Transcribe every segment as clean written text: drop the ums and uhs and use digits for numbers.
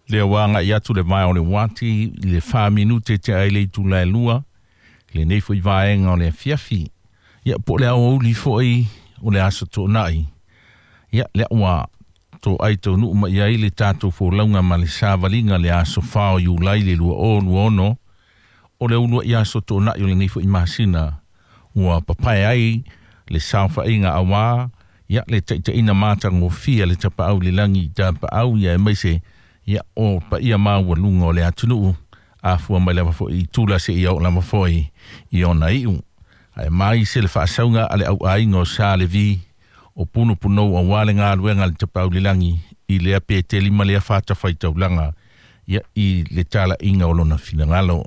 Lea ua agai atu le vae o le uati i le 4 minute tea ai le itula e 2 lenei foi vaega o le afiafi. Ia po o le aoauli foi o le aso Toonai. Ia lea ua toai taunuu mai ai le tatou folauga ma le savaliga le aso 4 o Iulai le 2026, o le uluai aso Toonai o lenei foi masina ua papae ai le saofaiga auā ia le taitaiina matagofie le Tapaau le lagi i tapaau ia aemaise ia o paia maualuga o le atunuu afua mai lava foi i tula seia oo lava foi i ona iu. Ae mai se le faasauga a le auaiga o Sa Levi o Punopunou auā le galuega a le Tapaau le lagi i lea Peteli ma lea fatafaitaulaga ia i le talaiga o lona finagalo.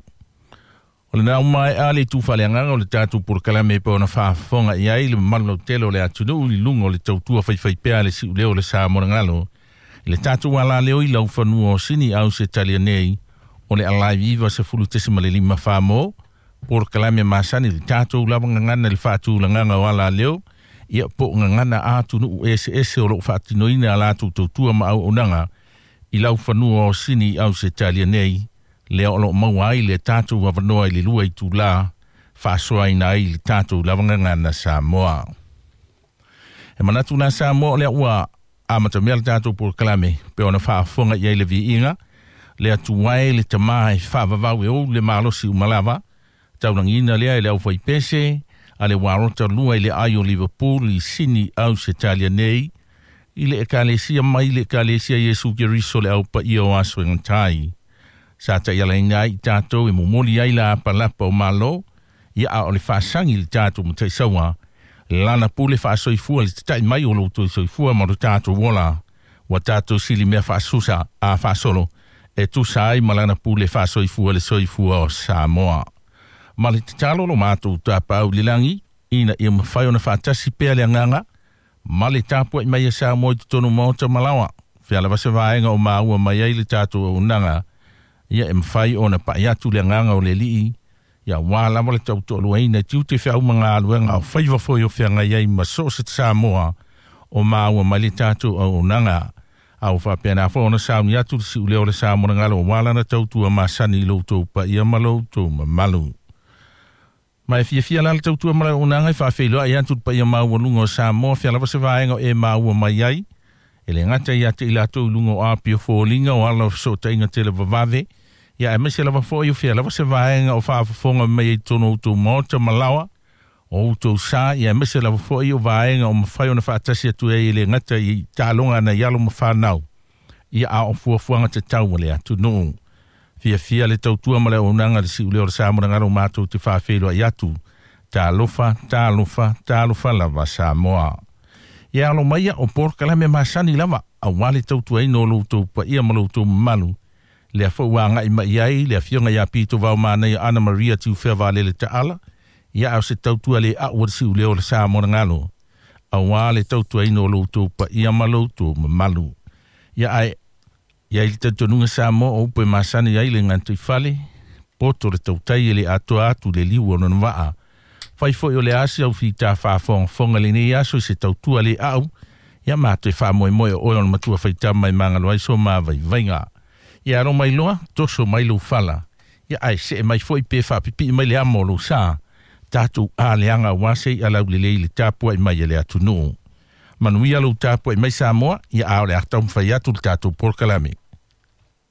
O lena ua maea le itu faaleagaga o le tatou polokalame pe ona faafofoga i ai le mamalu lautele o le atunuu i luga o le tautua faifaipea a le siuleo o le Sa Monagalo i le tatou alaleo i laufanua o Sini Ausetalia nei o le Alive 90.5 Famo polokalame masani le tatou lava gagana i le faatulagaga o alaleo ia po o gagana atunuu eseese o loo faatinoina a latou tautua ma auaunaga i laufanua o Sini Ausetalia nei lea o loo maua ai le tatou avanoa i le 2 itulā faasoaina ai le tatou lava gagana Samoa. E manatu la Samoa o lea ua amatamea le tatou polokalame pe ona faafofoga i ai le viiga le atuae le tamā e faavavau e ou le malosi uma lava taulagina lea e le aufaipese a le Uarota lua i le ai o Liverpool i Sini Ausetalia nei i le Ekalesia mai le Ekalesia Iesu Keriso le Au Paia o Aso e Gata. Sa taialaina ai i tatou e momoli ai la apalapa o Malo ia a o le faasagi le tatou mataisaua lana pule faasoifua le tatai mai o lo outou soifua ma lo tatou ola ua tatou silimea faasusa a faasolo e tusa ai ma lana pule faasoifua le soifua o Samoa. Ma le tatalo lo matou Tapaau i le lagi ina ia mafai ona faatasi pea le agaga ma le tapuai mai e Samoa i totonu maota malaoa. Fea lava se vaega o maua mai ai le tatou auaunaga ia e mafai ona pai atu le agaga o le Alii ia auā lava le tautoaluaina i tiute feau ma galuega o faiva foi o feagai ai ma so o se Samoa o maua mai le tatou auaunaga. A ua faapena foi ona sauni atu le siuleo o le Sa Monagalo auā lana tautua masani i lo outou paia ma lo outou mamalu. Ma e fiafia la le tautua ma le auaunaga e faafeiloai atu le paia maualuga o Samoa fea lava se vaega o e maua mai ai. E le gata ia te i latou i luga o apia foliga o ala o fesootaiga televavave, ia aemaise lava foi o fea lava se vaega o faafofoga mai ai totonu o outou maota ma laoa o outou sa, ia aemaise lava foi o vaega o mafai ona faatasi atu ai e le gata i taaloga nai alo ma fanau, ia a o fuafuaga tatau a le atunuu. Fiafia le tautua ma le auaunaga le siuleo o le Sa Monagalo matou te faafeiloai atu. Talofa, talofa, talofa lava Samoa. Ia alo maia o polokalame masani lava auā le tautuaina o lo outou paia ma lo outou mamalu. Lea foi ua agai mai ai le afioga ia Pito Vaomanaia Ana Maria Tiufea Valele Taala, ia a o se tautua le au a le siuleo o le Sa Monagalo auā le tautuaina o lo outou paia ma lo outou mamalu. Ia ae ia i le talitonuga Samoa o upu e masani ai le gataifale poto le tautai e le atoa atu le liu o lona vaa. Fai foi o le asi au fita faafogafoga lenei aso i se tautua le au ia matou e faamoemoe o oe o le matua faitama e magalo ai so mavaivaiga. Ia alo mai loa, toso mai lou fala. Ia ae see mai foi pe faapipii mai le amo o lou sa. Tatou aleaga auā se i'a laulelei le tapuai mai e le atunuu. Manuia lou tapuai mai Samoa, ia a o le a taumafai atu le tatou polokalame.